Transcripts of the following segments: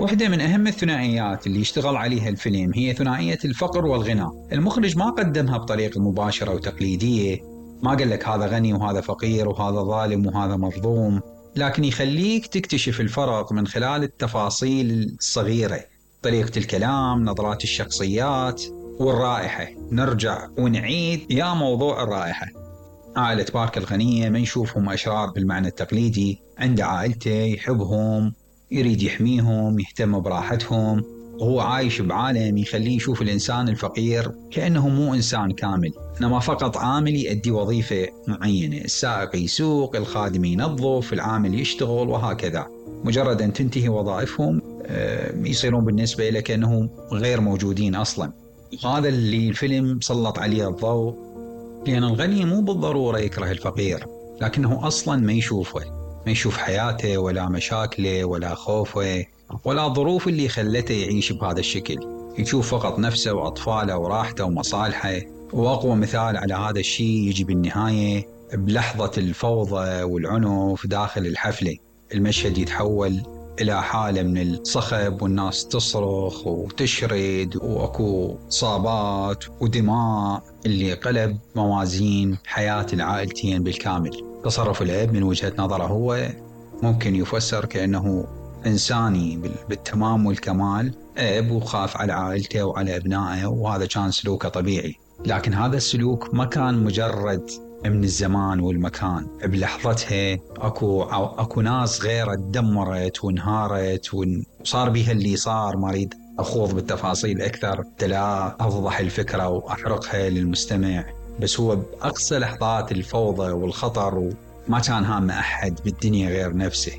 واحدة من أهم الثنائيات اللي يشتغل عليها الفيلم هي ثنائية الفقر والغنى. المخرج ما قدمها بطريقة مباشرة وتقليدية، ما قال لك هذا غني وهذا فقير وهذا ظالم وهذا مظلوم، لكن يخليك تكتشف الفرق من خلال التفاصيل الصغيرة، طريقة الكلام، نظرات الشخصيات والرائحة. نرجع ونعيد يا موضوع الرائحة. عائلة بارك الغنية ما نشوفهم أشرار بالمعنى التقليدي، عند عائلته يحبهم، يريد يحميهم، يهتم براحتهم، وهو عايش بعالم يخليه يشوف الإنسان الفقير كأنه مو إنسان كامل، إنما فقط عامل يؤدي وظيفة معينة. السائق يسوق، الخادم ينظف، العامل يشتغل، وهكذا. مجرد أن تنتهي وظائفهم يصيرون بالنسبة له كأنهم غير موجودين أصلا. هذا اللي الفيلم سلط عليه الضوء، لأن الغني مو بالضرورة يكره الفقير، لكنه أصلا ما يشوفه، ما يشوف حياته ولا مشاكله ولا خوفه ولا الظروف اللي خلته يعيش بهذا الشكل. يشوف فقط نفسه وأطفاله وراحته ومصالحه. وأقوى مثال على هذا الشيء يجي بالنهاية بلحظة الفوضى والعنف داخل الحفلة. المشهد يتحول إلى حالة من الصخب، والناس تصرخ وتشرد، وأكو إصابات ودماء اللي قلب موازين حياة العائلتين بالكامل. تصرف الأب من وجهة نظره هو ممكن يفسر كأنه إنساني بالتمام والكمال، أب وخاف على عائلته وعلى أبنائه، وهذا كان سلوكه طبيعي. لكن هذا السلوك ما كان مجرد من الزمان والمكان، بلحظتها أكو ناس غيره تدمرت وانهارت وصار بها اللي صار. ما أريد أخوض بالتفاصيل أكثر لا أفضح الفكرة وأحرقها للمستمع، بس هو بأقصى لحظات الفوضى والخطر وما كان هام أحد بالدنيا غير نفسه.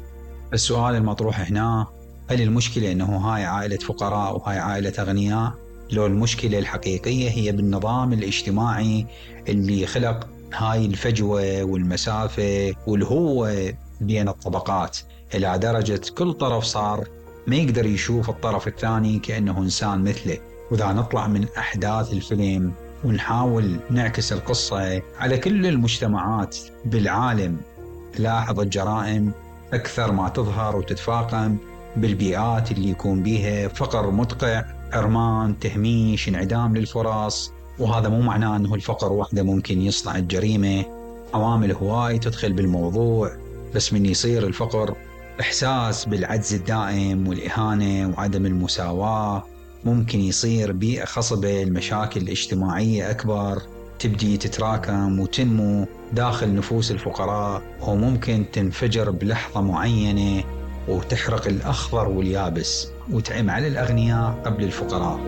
السؤال المطروح هنا، هل المشكلة أنه هاي عائلة فقراء وهاي عائلة أغنياء؟ لو المشكلة الحقيقية هي بالنظام الاجتماعي اللي خلق هاي الفجوة والمسافة والهوة بين الطبقات، إلى درجة كل طرف صار ما يقدر يشوف الطرف الثاني كأنه إنسان مثله. وإذا نطلع من أحداث الفيلم ونحاول نعكس القصة على كل المجتمعات بالعالم، لاحظ الجرائم أكثر ما تظهر وتتفاقم بالبيئات اللي يكون بيها فقر مدقع، حرمان، تهميش، انعدام للفرص. وهذا مو معناه أنه الفقر وحده ممكن يصنع الجريمة، عوامل هواي تدخل بالموضوع. بس من يصير الفقر إحساس بالعجز الدائم والإهانة وعدم المساواة، ممكن يصير بيئة خصبة، المشاكل الاجتماعية أكبر، تبدي تتراكم وتنمو داخل نفوس الفقراء، وممكن تنفجر بلحظة معينة وتحرق الأخضر واليابس وتعم على الأغنياء قبل الفقراء.